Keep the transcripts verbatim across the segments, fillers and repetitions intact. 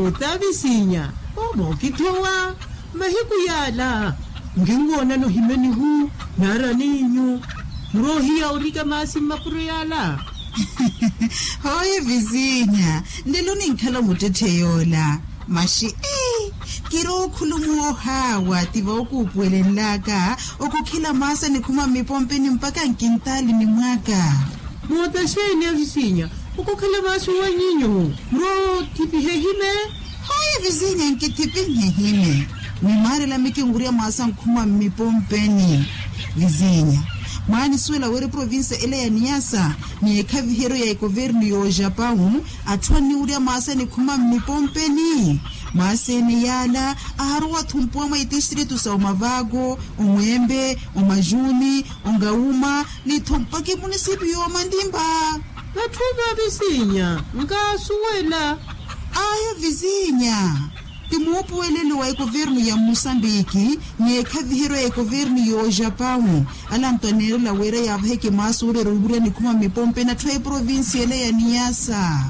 Ota visinya, omo okithowa mahiku yala nkinwoonana ohimeni hu naara ninyu muroohiya orika maasi mmapuro yala. Hooye visinya, nlelo ninkhala muttetthe yoola. Maxi ii, kirookhulumuwa ohaawa ti vookuupuwelenlaka okukhela maasi anikhuma mmipompeni mpakha nkintaali ni mwaka. Moota xeeni avisinya okukhala maasi owanyinyu murootthipiha ehime. Hooye visinya nkithipihe ehime. Mwimaarela mikinwurya maasi ankhuma mmipompeni. Visinya, mwaanisuwela wira eprovincia ela ya niyasa ni ekhaviheryo ya ekovernu y'ojapawu atthu anniwurya maasi anikhuma mmipompeni. Maasi ene yaala aharowa-tho mpuwa mwa itistritu sa omavaako, omweembe, omajuni, ongawuma ni-tho mpakha emunisipi y'omandimba. Vatthu va visinya nkaasuwela. Ayo visinya, ti muupuwelelo wa ekovernu ya musambiki ni ekhaviheryo ya ekovernu y'ojapawu. Ala antu aneerela wira yaavaheke maasi ooreera owurya nikhuma mmipompeni atthu a eprovincia ela ya niyasa.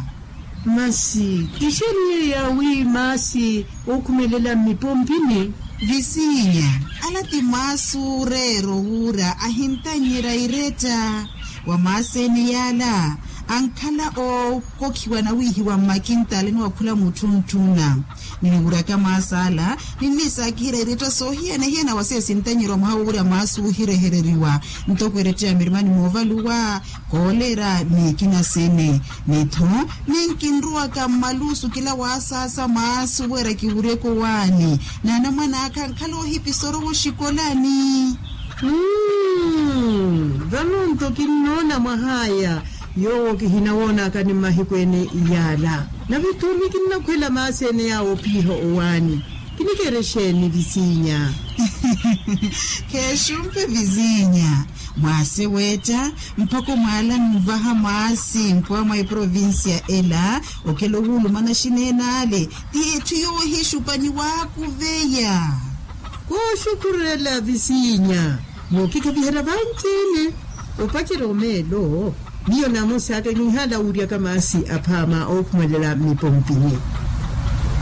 Masi ti xaniye yaawi maasi ookhumelela mmipompini? Visinya, ala ti maasi ooreera owura ahintannyerya iretta. Wa maasi ene yaala ankhala ookokhiwa nawiihiwa mmakintaali ni wakhula mutthunttuna. Niniwuryaka maasi ala ninnisaakihira iretta soohiyana-hiyana wa seesintanyerya mwaha wowurya maasi oohirehereriwa ntoko eretta ya mirimani moovaluwa, koolera ni ekina sene. Ni-tho ninkinrowaka mmaluusu kila waasaasa maasi oweera kiwuryeke owaani n'anamwane akha ankhala oohipisa orowa oxikolani. Vano-nto kinnoona mwah'aya yoowo kihinawoonaka ni mmahiku ene yaala. Nave-tho nikinnakhwela maasi ene yaawo ophiha owaani. Kinikere xeeni visinya? Khexumpe visinya, mwaasi weetta mpakha omwaala n'uvaha maasi mpuwa mwa eprovincia ela. Okela ohuulumana xineene ale ti etthu yoohixupa ni waakuveya. Kooxukhurela visinya mookikhaviherya vanci-ene. Opacerya omeelo miyo namosi aka kinhala wuuryaka maasi aphaama ookhumelela mmipompini.